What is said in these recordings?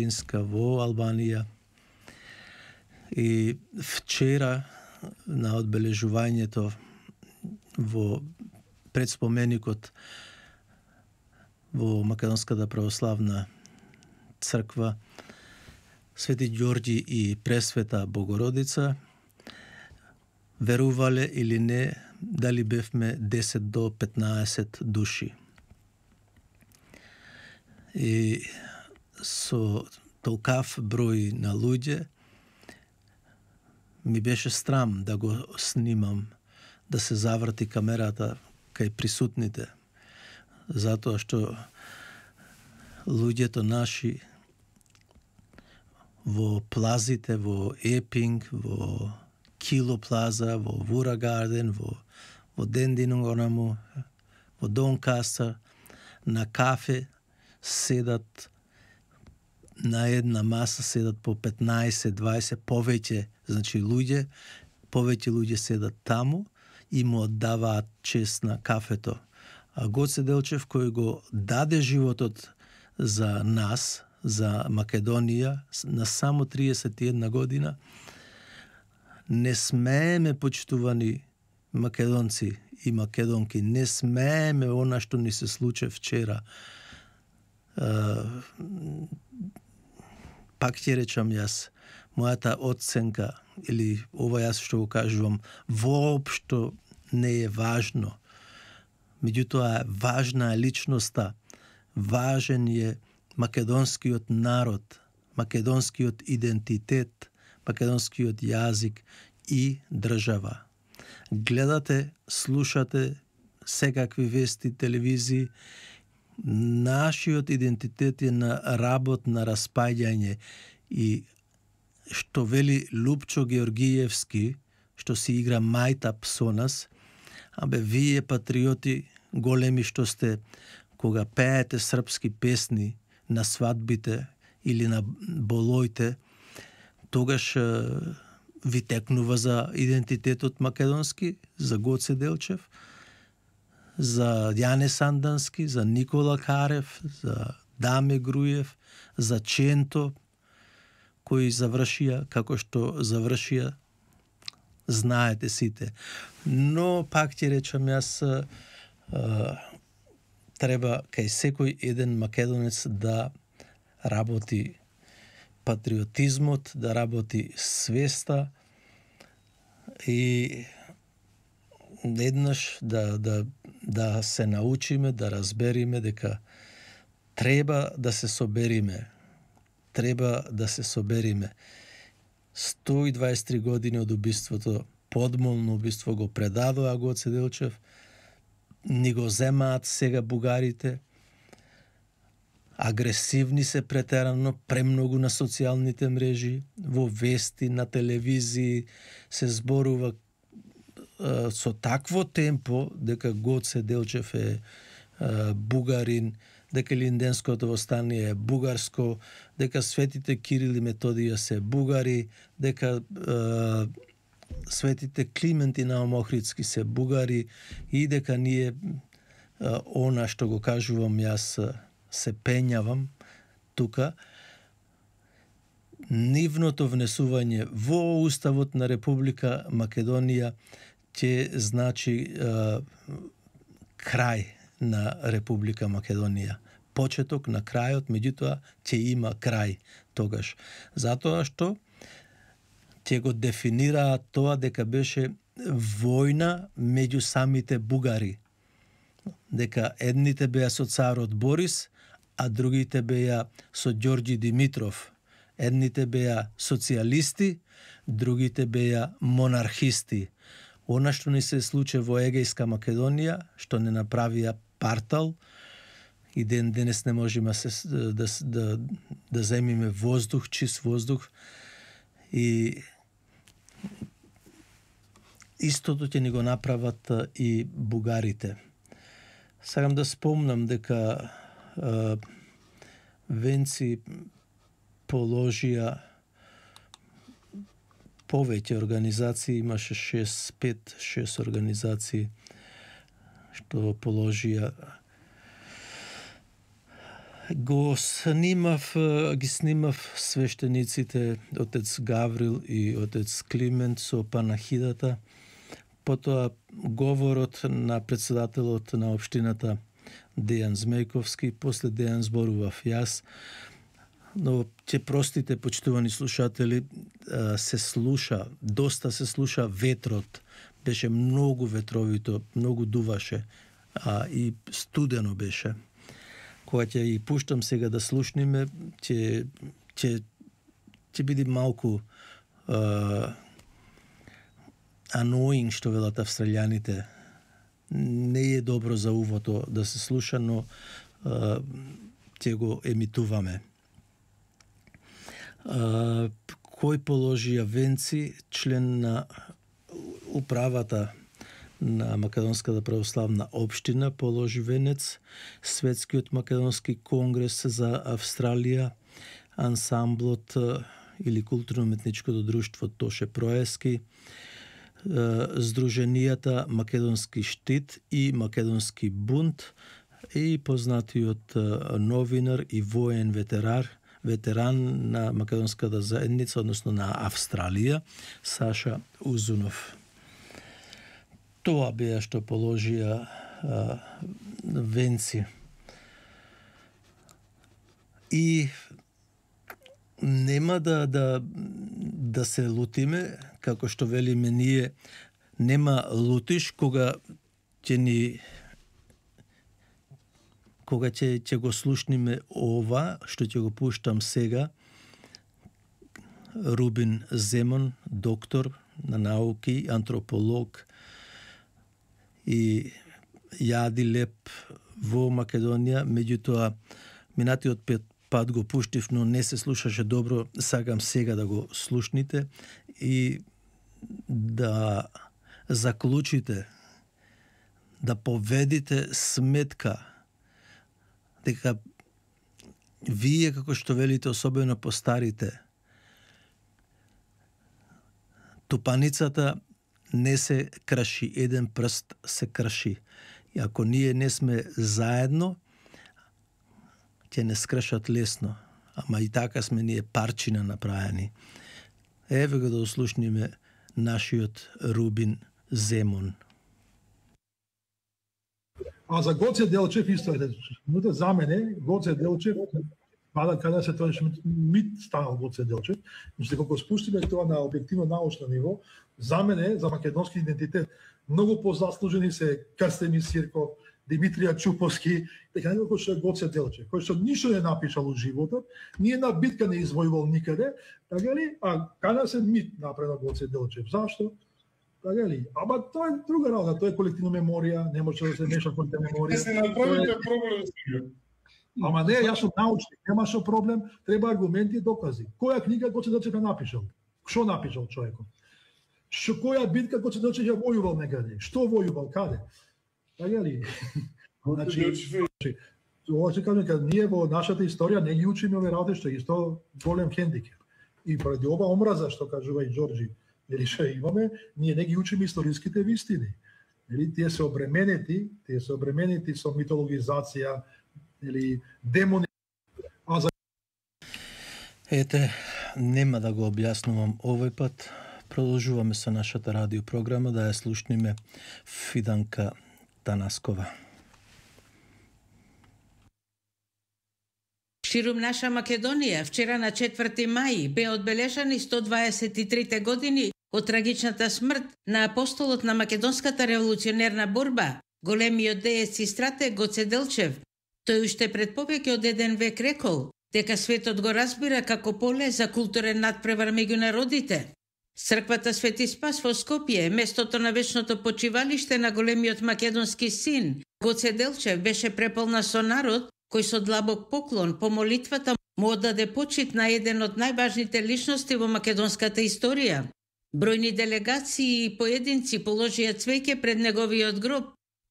во Албанија. И вчера на одбележувањето во предспоменикот во Македонската православна црква Свети Ѓорѓи и Пресвета Богородица верувале или не, дали бевме 10 до 15 души. И со толкав број на луѓе ми беше срам да го снимам, да се заврти камерата кај присутните, затоа што луѓето наши во плазите, во Епинг, во Кило Плаза, во Вура Гарден, во Дендинонаму, во Донкастер, на кафе седат на една маса, седат по 15-20 повеќе, значи повеќе луѓе седат таму и му оддаваат чест на кафето. А Гоце Делчев, кој го даде животот за нас, за Македонија, на само 31 година, не смееме, почитувани македонци и македонки, не смееме она што ни се случи вчера. Пак ќе речам јас, мојата оценка, или ова јас што го кажувам, воопшто не е важно. Меѓутоа, важна е личноста, важен е македонскиот народ, македонскиот идентитет, македонскиот јазик и држава. Гледате, слушате секакви вести, телевизии, нашиот идентитет е на работ, на распаѓање, и што вели Лупчо Георгиевски, што си игра мајтап со нас, абе вие патриоти големи што сте, кога пеете српски песни на свадбите или на болоите, тогаш ви текнува за идентитетот македонски, за Гоце Делчев, за Јане Сандански, за Никола Карев, за Даме Груев, за Ченто, кои завршија како што завршија, знаете сите. Но пак ќе речам јас, треба кај секој еден македонец да работи патриотизмот, да работи свеста и еднаш да се научиме, да разбериме дека треба да се собериме. Треба да се собериме. 123 години од убиството, подмолно убиство го предадоа Гоце Делчев, ни го земаат сега бугарите, агресивни се претерано, премногу на социјалните мрежи, во вести, на телевизии, се зборува со такво темпо дека Гоце Делчев е бугарин, дека Линденското востание е бугарско, дека светите Кирил и Методија се бугари, дека светите Климент и Наум Охридски се бугари и дека ние она што го кажувам јас се пењавам тука. Нивното внесување во Уставот на Република Македонија ќе значи крај на Република Македонија. Почеток на крајот, меѓутоа ќе има крај тогаш. Затоа што ќе го дефинираат тоа дека беше војна меѓу самите бугари. Дека едните беа со царот Борис, а другите беа со Ѓорѓи Димитров. Едните беа социјалисти, другите беа монархисти. Она што ни се случи во Егејска Македонија, што не направија партал, и ден денес не можеме да земиме воздух, чист воздух, и истото ќе ни го направат и бугарите. Сакам да спомнам дека Венци положија повеќе организации, имаше 5-6 организации што положија ги снимав свештениците отец Гаврил и отец Климент со панахидата, потоа говорот на председателот на општината Дејан Змејковски, после Дејан зборував јас, но ќе простите, почитувани слушатели, доста се слуша ветрот, беше многу ветровито, многу дуваше, и студено беше. Кога ќе и пуштам сега да слушниме, ќе биде малку annoying, што велат австралијаните. Не е добро за увото да се слуша, но ќе го емитуваме. Кој положија венци, член на управата на Македонската православна општина, положи венец, Светскиот македонски конгрес за Австралија, ансамблот или културно-уметничкото друштво Тоше Проески, Сдруженијата Македонски штит и Македонски бунт и познатиот новинар и воен ветеран на македонската заедница, односно на Австралија, Саша Узунов. Тоа беа што положија венци. И нема да се лутиме, како што велиме ние, нема лутиш кога ќе го слушниме ова, што ќе го пуштам сега, Рубин Земон, доктор на науки, антрополог, и јади леп во Македонија, меѓутоа минатиот пат го пуштив, но не се слушаше добро, сакам сега да го слушните и да заклучите, да поведите сметка дека вие, како што велите, особено постарите, тупаницата не се краши, еден прст се краши. И ако ние не сме заедно, ќе не скршат лесно. Ама и така сме ние парчина направени. Еве го да услушниме нашиот Рубин Земон. А за Гоце Делчев исто е. За мене Гоце Делчев, када се тоа мит станал Гоце Делчев, значи кога спустиме тоа на објективно научно ниво, за мене, за македонски идентитет, многу позаслужени се Крстени Сирков, Димитрија Чуповски, дека некој што е Гоце Делчев, кој што ништо не напишал у животот, ни една битка не извојувал никаде, така ли? А када се мит направил Гоце Делчев? Зашто? Така ли? Ама тоа е друга работа, тоа е колективна меморија, не може да се меша колективна меморија. Се направите проблем сега. Ама не, јас сум научник, немаше проблем, треба аргументи и докази. Која книга Гоце Делчев ја напишал? Што напишал човекот? Која битка Гоце Делчев ја војувал некаде? Што војувал? Каде? Така ли? Значи, ова се кажем, кога ние во нашата историја не ги учиме овие работи, што е исто голем хендикеп. И поради ова омраза, што кажува и Џорџи, или што имаме, ние не ги учиме историските вистини. Тие се обременети со митологизација, или демони. Ете, нема да го објаснувам овој пат. Продолжуваме со нашата радиопрограма, да ја слушниме Фиданка Танаскова. Ширум наша Македонија, вчера на 4 мај бе одбележани 123 години од трагичната смрт на апостолот на македонската револуционерна борба, големиот деец и стратег Гоце Делчев. Тој уште пред повеќе од еден век рекол дека светот го разбира како поле за културен надпревар меѓу народите. Црквата Свети Спас во Скопје, местото на вечното почивалиште на големиот македонски син, Гоце Делчев, беше преполна со народ кој со длабок поклон по молитвата му оддаде почит на еден од најважните личности во македонската историја. Бројни делегации и поединци положија цвеќе пред неговиот гроб,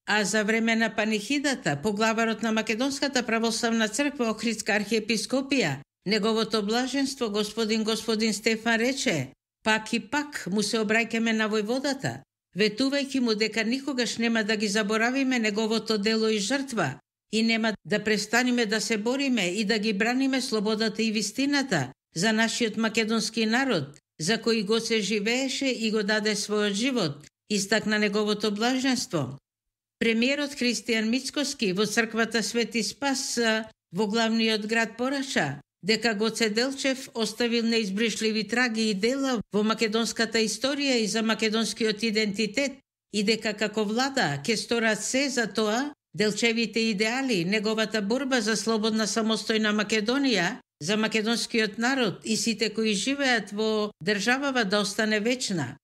а за време на панихидата, поглаварот на Македонската православна црква Охридска архиепископија, неговото блаженство господин Стефан рече: пак и пак му се обраќаме на војводата, ветувајќи му дека никогаш нема да ги заборавиме неговото дело и жртва, и нема да престанеме да се бориме и да ги браниме слободата и вистината за нашиот македонски народ, за кој го се живееше и го даде својот живот, истакна неговото блаженство. Премиерот Христијан Мицкоски во црквата Свети Спас во главниот град порача дека Гоце Делчев оставил неизбришливи траги и дела во македонската историја и за македонскиот идентитет и дека како влада ќе сторат се за тоа Делчевите идеали, неговата борба за слободна самостојна Македонија, за македонскиот народ и сите кои живеат во државава да остане вечна.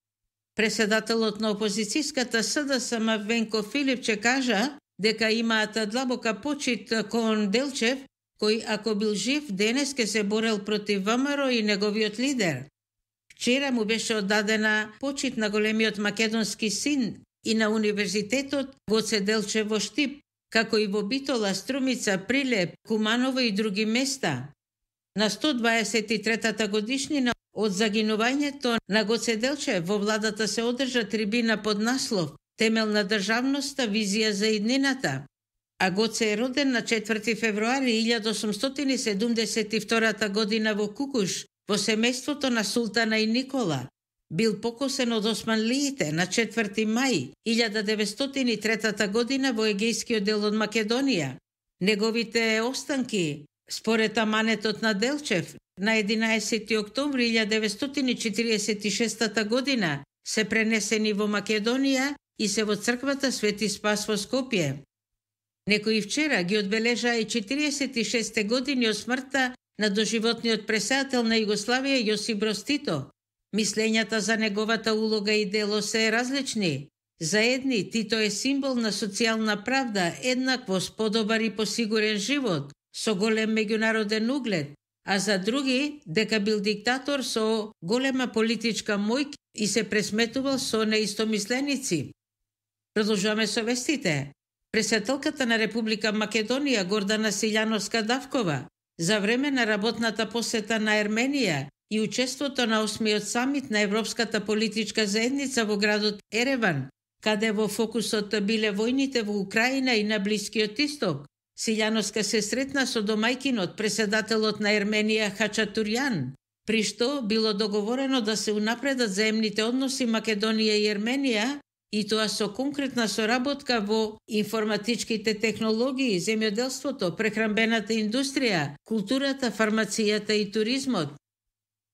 Преседателот на опозицијската СДСМ Венко Филипче кажа дека имаат длабока почит кон Делчев, кој ако бил жив денес ке се борел против ВМРО и неговиот лидер. Вчера му беше оддадена почит на големиот македонски син и на универзитетот Гоце Делчев во Штип, како и во Битола, Струмица, Прилеп, Куманово и други места. На 123-та годишнина од загинувањето на Гоце Делчев во владата се одржа трибина под наслов «Темел на државноста, визија за иднината». А Гоце е роден на 4 февруари 1872 година во Кукуш, во семејството на Султана и Никола. Бил покосен од османлиите на 4 мај 1903 година во егејскиот дел од Македонија. Неговите останки, според аманетот на Делчев, на 11 октомври 1946 година се пренесени во Македонија и се во црквата Свети Спас во Скопје. Некои вчера ги одбележаа и 46 години од смртта на доживотниот претседател на Југославија Јосип Броз Тито. Мислењата за неговата улога и дело се различни. За едни Тито е символ на социјална правда, еднаквост, подобар и посигурен живот, со голем меѓународен углед, а за други дека бил диктатор со голема политичка моќ и се пресметувал со неистомисленици. Продолжуваме со вестите. Председателката на Република Македонија Гордана Силјановска-Давкова за време на работната посета на Ерменија и учеството на 8-миот самит на Европската политичка заедница во градот Ереван, каде во фокусот биле војните во Украина и на Блискиот Исток, Силјановска се сретна со домајкинот, председателот на Ерменија Хачатурјан, при што било договорено да се унапредат заемните односи Македонија и Ерменија, и тоа со конкретна соработка во информатичките технологии, земјоделството, прехранбената индустрија, културата, фармацијата и туризмот.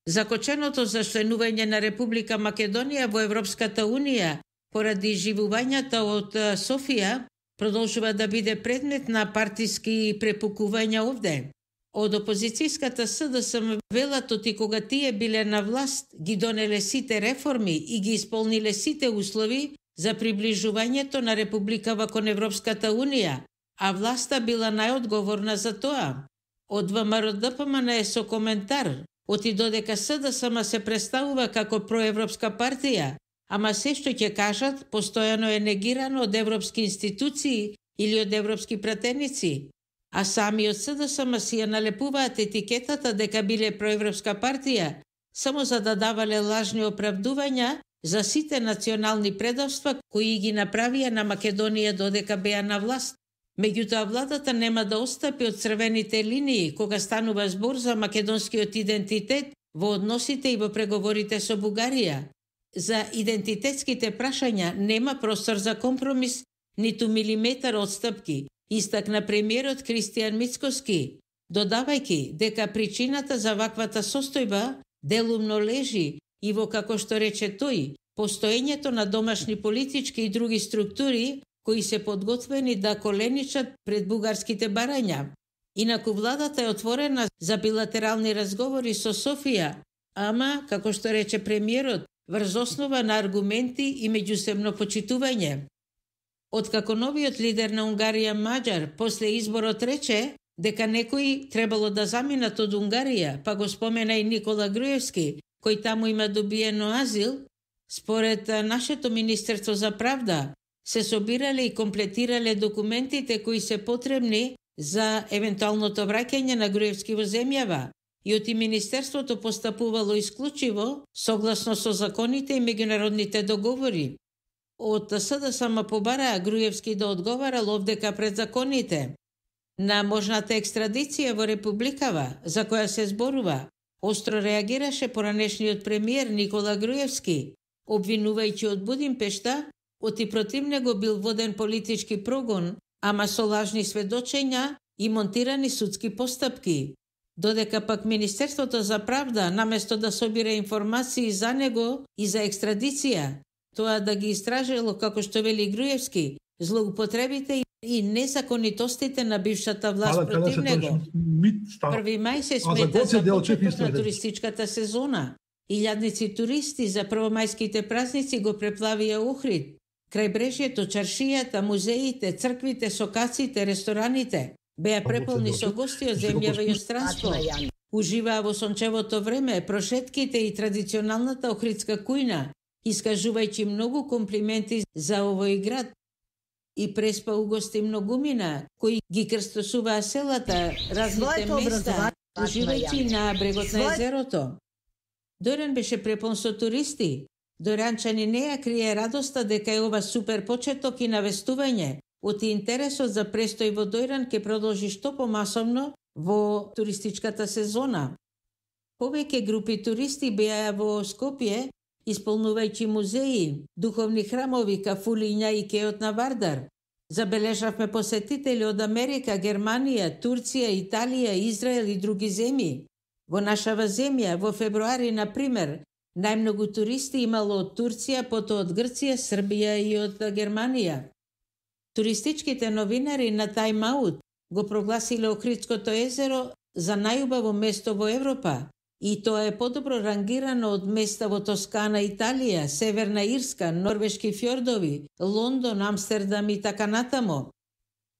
Закоченото за членување на Република Македонија во Европската Унија поради живувањата од Софија продолжува да биде предмет на партиски препукувања овде. Од опозицијската СДСМ велат оти кога тие биле на власт, ги донеле сите реформи и ги исполниле сите услови за приближувањето на Републикава кон Европската Унија, а власта била најодговорна за тоа. Од ВМРО ДПМН е со коментар, оти додека СДСМ се представува како проевропска партија, ама се што ќе кажат постојано е негирано од европски институции или од европски пратеници, а самиот СДСМ си ја налепуваат етикетата дека биле проевропска партија, само за да давале лажни оправдувања за сите национални предавства кои ги направија на Македонија додека беа на власт. Меѓутоа владата нема да отстапи од црвените линии кога станува збор за македонскиот идентитет во односите и во преговорите со Бугарија. За идентитетските прашања нема простор за компромис, ниту милиметар отстапки, истакна премиерот Христијан Мицкоски, додавајќи дека причината за ваквата состојба делумно лежи и во, како што рече тој, постоењето на домашни политички и други структури кои се подготвени да коленичат пред бугарските барања. Инаку владата е отворена за билатерални разговори со Софија, ама, како што рече премиерот, врз основа на аргументи и меѓусебно почитување. Откако новиот лидер на Унгарија Маđар после изборот рече дека некои требало да заминат од Унгарија, па го спомена и Никола Груевски, кој таму има добиено азил, според нашето Министерство за правда, се собирале и комплетирале документите кои се потребни за евентуалното враќање на Груевски во земјава, и оти Министерството постапувало исклучиво согласно со законите и меѓународните договори. Од СДСМ побараа Груевски да одговарал овдека пред законите. на можната екстрадиција во Републикава, за која се зборува, остро реагираше поранешниот премиер Никола Груевски, обвинувајќи од Будимпешта, оти против него бил воден политички прогон, ама со лажни сведочења и монтирани судски постапки. Додека пак Министерството за правда, наместо да собира информации за него и за екстрадиција, тоа да ги истражело, како што вели Груевски, злоупотребите и незаконитостите на бившата власт против него. 1 мај се смета за почеток на туристичката сезона. Илјадници туристи за првомајските празници го преплавија Охрид. Крајбрежјето, чаршијата, музеите, црквите, сокаците, рестораните беа преполни со гости од земјава и од странство. Уживаа во сончевото време, прошетките и традиционалната охридска кујна, искажувајќи многу комплименти за овој град. И преспа угости многумина, кои ги крстосуваа селата, разните места, уживајќи на брегот на езерото. Дојран беше препон со туристи. Дојранчани не ја крие радоста дека е ова супер почеток и навестување. Оти интересот за престој во Дојран ќе продолжи што помасовно во туристичката сезона. Повеќе групи туристи беа во Скопје, исполнувајќи музеи, духовни храмови, кафулиња и кеот на Вардар. Забележавме посетители од Америка, Германија, Турција, Италија, Израел и други земји. Во нашава земја, во февруари, например, најмногу туристи имало од Турција, потоа од Грција, Србија и од Германија. Туристичките новинари на Time Out го прогласиле Охридското езеро за најубаво место во Европа и тоа е подобро рангирано од места во Тоскана, Италија, Северна Ирска, норвешки фјордови, Лондон, Амстердам и така натамо.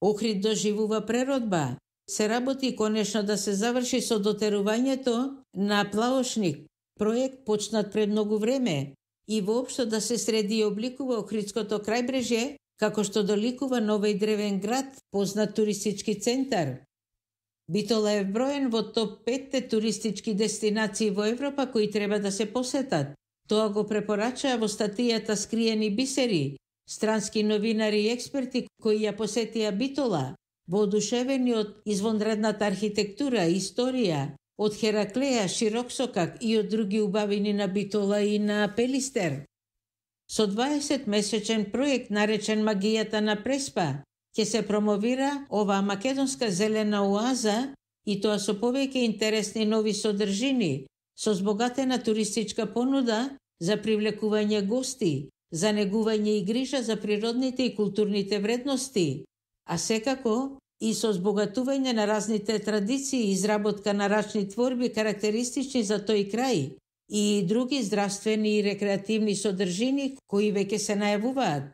Охрид доживува преродба. Се работи конечно да се заврши со дотерувањето на плаошник, проект почнат пред многу време, и воопшто да се среди и обликува Охридското крајбрежје, како што доликува новој древен град, познат туристички центар. Битола е вброен во топ 5 туристички дестинации во Европа кои треба да се посетат. Тоа го препорачаа во статијата Скриени бисери, странски новинари и експерти кои ја посетија Битола, воодушевени од извонредната архитектура и историја, од Хераклеја, Широксокак и од други убавини на Битола и на Пелистер. Со 20-месечен проект наречен Магијата на Преспа, ќе се промовира оваа македонска зелена оаза и тоа со повеќе интересни нови содржини, со збогатена туристичка понуда за привлекување гости, за негување и грижа за природните и културните вредности, а секако и со збогатување на разните традиции и изработка на рачни творби карактеристични за тој крај и други здравствени и рекреативни содржини кои веќе се најавуваат.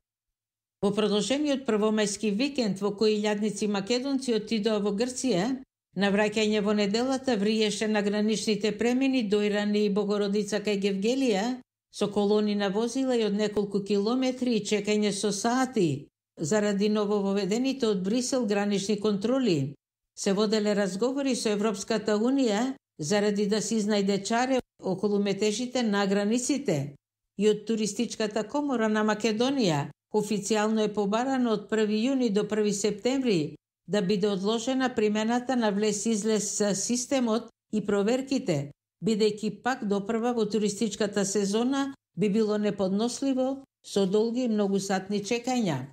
Во продолжениот првомајски викенд во кој илјадници македонци отидоа во Грција, на враќање во неделата вриеше на граничните премини Дојран и Богородица кај Гевгелија со колони на возила и од неколку километри и чекање со сати. Заради новововедените од Брисел гранични контроли, се воделе разговори со Европската Унија заради да се изнајде чаре околу метежите на границите. И од Туристичката комора на Македонија официјално е побарано од 1 јуни до 1 септември да биде одложена примената на влез-излез системот и проверките, бидејќи пак допрва во туристичката сезона би било неподносливо со долги и многусатни чекања.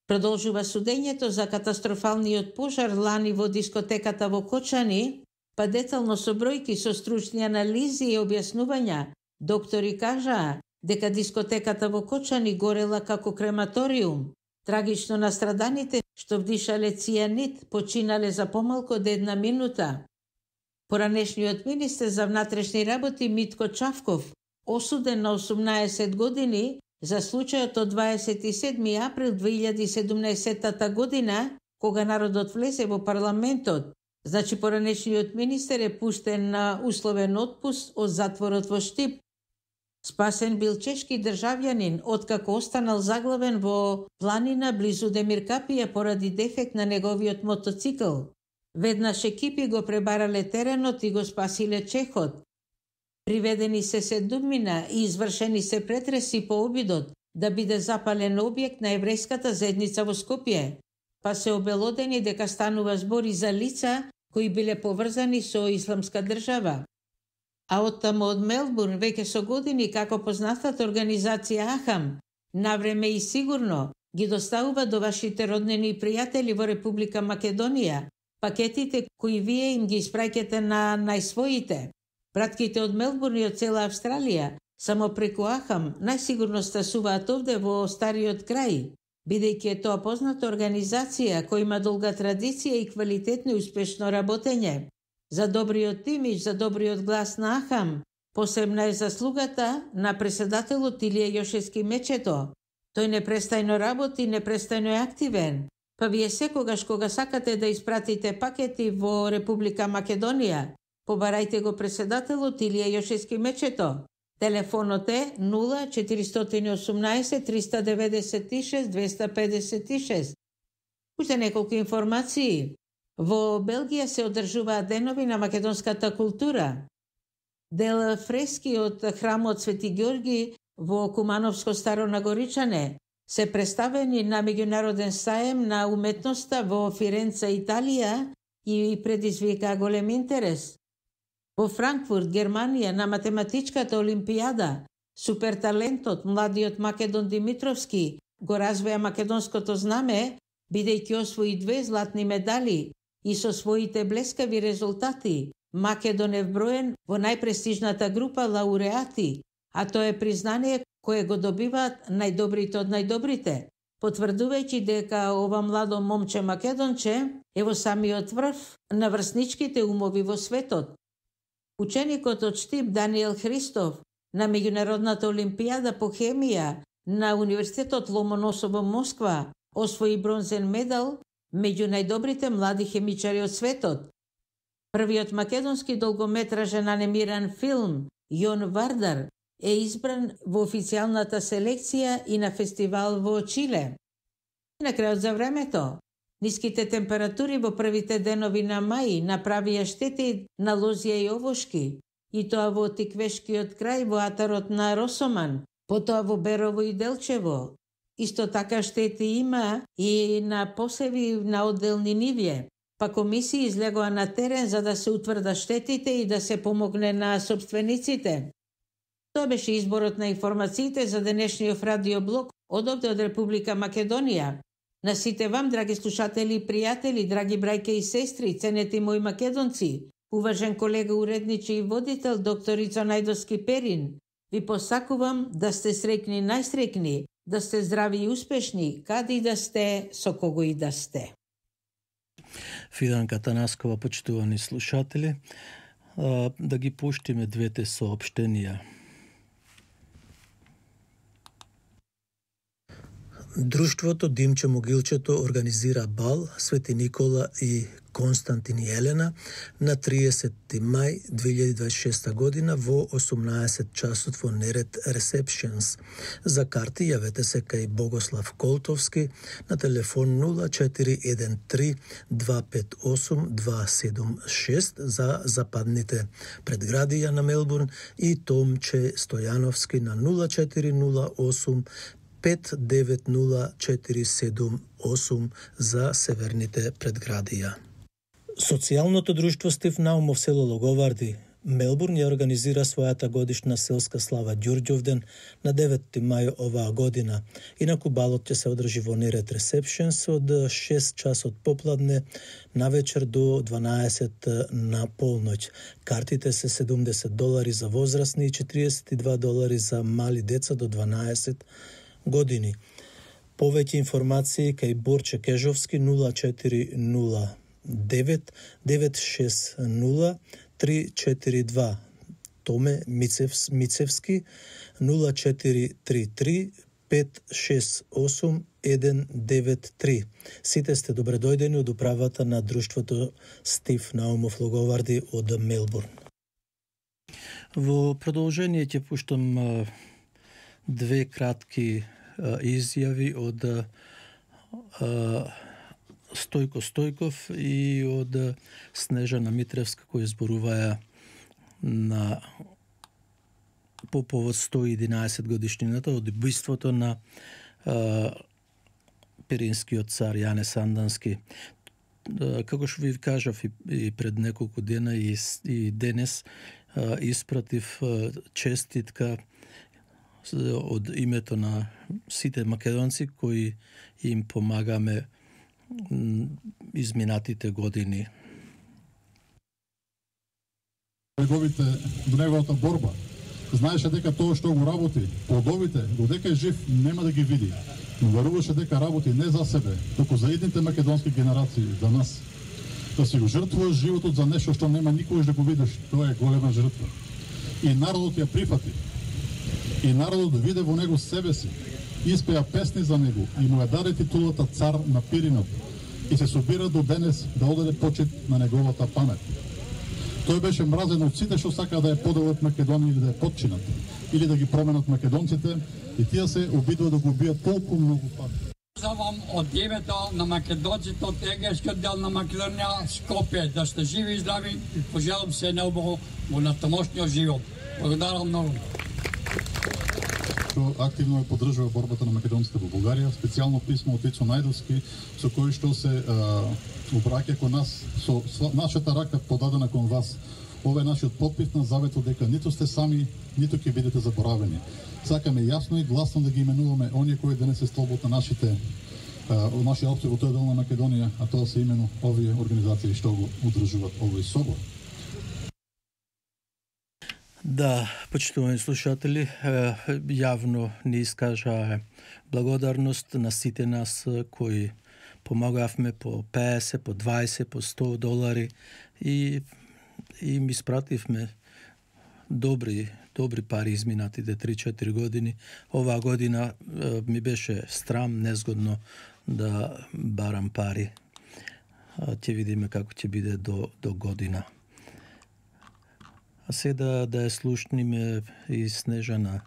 Продолжува судењето за катастрофалниот пожар лани во дискотеката во Кочани, па детално со бројки со стручни анализи и објаснувања, доктори кажаа дека дискотеката во Кочани горела како крематориум. Трагично настраданите што вдишале цијанид починале за помалку од 1 минута. Поранешниот министер за внатрешни работи Митко Чавков, осуден на 18 години за случајот од 27. април 2017 година, кога народот влезе во парламентот. Значи поранешниот министер е пуштен на условен отпуст од затворот во Штип. Спасен бил чешки државјанин, откако останал заглавен во планина близу Демиркапија поради дефект на неговиот мотоцикл. Веднаш екипи го пребарале теренот и го спасиле чехот. Приведени се седумина и извршени се претреси по обидот да биде запален објект на еврејската заедница во Скопје. па се обелодени дека станува збори за лица кои биле поврзани со Исламска држава. А оттаму од Мелбурн веќе со години како познатата организација Ахам, навреме и сигурно ги доставува до вашите роднини и пријатели во Република Македонија пакетите кои вие им ги испраќате на најсвоите. Братките од Мелбурн и од цела Австралија само преку Ахам најсигурно стасуваат овде во стариот крај, бидејќи е тоа позната организација која има долга традиција и квалитетно и успешно работење. За добриот имидж, за добриот глас на Ахам, посебна е заслугата на преседателот Илија Јошевски Мечето. Тој непрестајно работи, непрестајно е активен. Па вие секогаш кога сакате да испратите пакети во Република Македонија, побарајте го преседателот Илија Јошевски Мечето. Телефонот е 0418 396 256. Уште неколку информации. Во Белгија се одржуваат денови на македонската култура. Дел фрески од храмот Свети Ѓорги во Кумановско Старо Нагоричане се представени на меѓународен саем на уметноста во Фиренца, Италија и предизвика голем интерес. Во Франкфурт, Германија, на математичката олимпијада, суперталентот младиот Македон Димитровски го развеа македонското знаме, бидејќи освои 2 златни медали и со своите блескави резултати Македон е вброен во најпрестижната група лауреати, а тоа е признание кое го добиваат најдобрите од најдобрите, потврдувајќи дека ова младо момче македонче е во самиот врв на врсничките умови во светот. Ученикот од Штип Даниел Христов на меѓународната олимпијада по хемија на Универзитетот Ломоносов во Москва освои бронзен медал меѓу најдобрите млади хемичари од светот. Првиот македонски долгометражен анимиран филм Јон Вардар е избран во официјалната селекција и на фестивал во Чиле. И на крајот за времето, ниските температури во првите денови на мај направија штети на лозија и овошки, и тоа во Тиквешкиот крај во атарот на Росоман, потоа во Берово и Делчево. Исто така штети има и на посеви на одделни нивје, па комисии излегоа на терен за да се утврдат штетите и да се помогне на собствениците. Тоа беше изборот на информациите за денешниот радиоблог од овде од Република Македонија. На сите вам, драги слушатели и пријатели, драги брајке и сестри, ценети мои македонци, уважен колега уредниче и водител доктор Ицо Најдовски Перин, ви посакувам да сте среќни најсреќни, да сте здрави и успешни, каде и да сте, со кого и да сте. Фиданка Танаскова, почитувани слушатели, да ги пуштиме двете соопштенија. Друштвото Димче Могилчето организира бал Свети Никола и Константин и Елена на 30 мај 2026 година во 18 часот во Неред Receptions. За карти јавете се кај Богослав Колтовски на телефон 0413 258 276 за западните предградија на Мелбурн и Томче Стојановски на 0408 590478 за северните предградија. Социјалното друштво Стив Наумов село Логоварди, Мелбурн ја организира својата годишна селска слава Ѓурѓовден на 9 мај оваа година. Инаку балот ќе се одржи во Неред Receptions од 6 часот попладне навечер до 12 на полноќ. Картите се $70 за возрастни и $42 за мали деца до 12 години. Повеќе информации кај Борче Кежовски 0409 960 342, Томе Мицевски 0433 568 193. Сите сте добре дојдени од управата на друштвото Стив Наумов Логоварди од Мелбурн. Во продолжение ќе пуштам две кратки изјави од Стојко Стојков и од Снежана Митревска, кои зборуваја по повод 111 годишнината од убиството на перинскиот цар Јане Сандански. Како што ви кажав и пред неколку дена и денес, испратив честитка од името на сите македонци кои им помагаме изминатите години. До неговата борба. Знаеше дека тоа што го работи, плодовите, додека е жив, нема да ги види. Но веруваше дека работи не за себе, туку за идните македонски генерации, за нас. Да си го жртвуваш животот за нешто што нема никогаш да го видиш, тоа е голема жртва. И народот ја прифати. И народот виде во него себе си, испеа песни за него и му ја даде титулата цар на Пиринот и се собира до денес да одаде почит на неговата памет. Тој беше мразен од сите што сака да ја поделат Македонија или да ја подчинат, или да ги променат македонците, и тие се обидува да го убијат толку многу пати. Позовам од името на македонците од егејскиот дел на Македонија, Скопје, да сте живи и здрави и пожелам се наубаво во натамошниот живот. Благодарам многу. Активно ја поддржува борбата на македонците во Бугарија, специјално писмо од Ицо Најдовски, со кој што се обраќа кон нас, со нашата рака подадена кон вас. Ова е нашиот подпис на заветот дека ниту сте сами, ниту ќе бидете заборавени. Сакаме јасно и гласно да ги именуваме оние кои денес се столбот на нашите нашиот опција во тој дел на Македонија, а тоа се именно овие организации што го удржуваат овој собор. Да, почитувани слушатели, јавно ни искажа благодарност на сите нас кои помагавме по 50, по 20, по 100 долари и ми испративме добри пари изминатите 3-4 години. Оваа година ми беше страм, незгодно да барам пари. Ќе видиме како ќе биде до година. А сега да ја слушниме и Снежана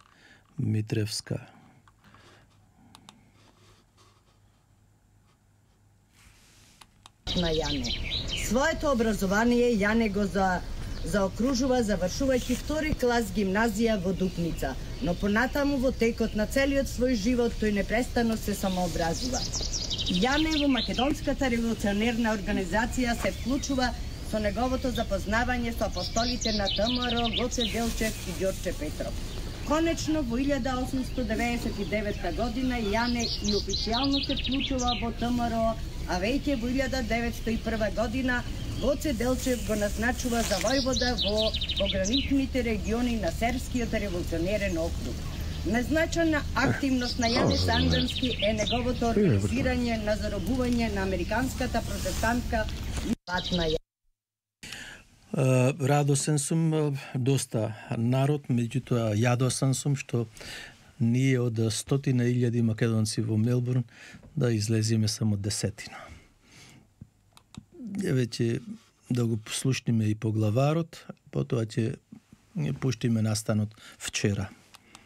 Митревска. На Јане. Своето образование Јане го заокружува завршувајќи втори клас гимназија во Дупница, но понатаму во текот на целиот свој живот тој непрестано се самообразува. Јане во Македонската револуционерна организација се вклучува со неговото запознавање со апостолите на ВМРО Гоце Делчев и Ѓорче Петров. Конечно, во 1899 година Јане и официјално се вклучува во ВМРО, а веќе во 1901 година Гоце Делчев го назначува за војвода во пограничните региони на Сербскиот револуционерен округ. Незначена активност на Јане Сандански е неговото организирање на заробување на американската протестантка патна. Радосен сум, доста народ, меѓутоа јадосен сум што ние од 100.000 македонци во Мелбурн да излезиме само 10. Веќе да го послушниме и поглаварот, потоа ќе пуштиме настанот вчера.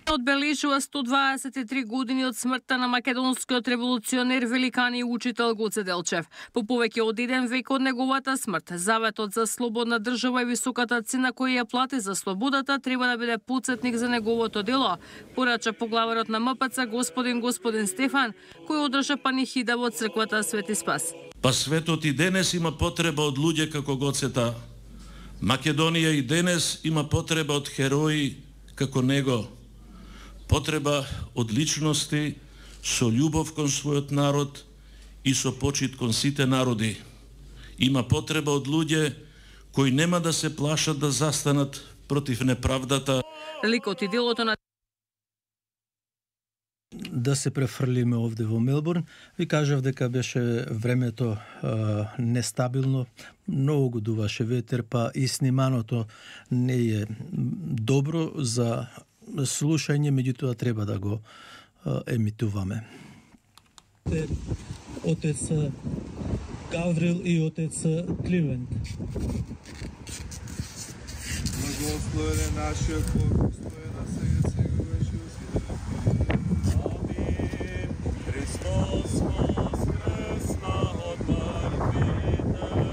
Одбележува 123 години од смртта на македонскиот револуционер, великан и учител Гоце Делчев. По повеќе од 1 век од неговата смрт, заветот за слободна држава и високата цена која ја плати за слободата треба да биде потсетник за неговото дело, порача поглаварот на МПЦ господин Стефан, кој одржа панихида во црквата Свети Спас. Па светот и денес има потреба од луѓе како Гоцета. Македонија и денес има потреба од херои како него. Потреба од личности со љубов кон својот народ и со почит кон сите народи. Има потреба од луѓе кои нема да се плашат да застанат против неправдата. Ликот и делото на да се префрлиме овде во Мелбурн. Ви кажав дека беше времето нестабилно, многу го дуваше ветер, па и сниманото не е добро за слушање, меѓутоа треба да го емитуваме. Отец Гаврил и отец Кливент. Благословен е нашиот Бог, постои на сега.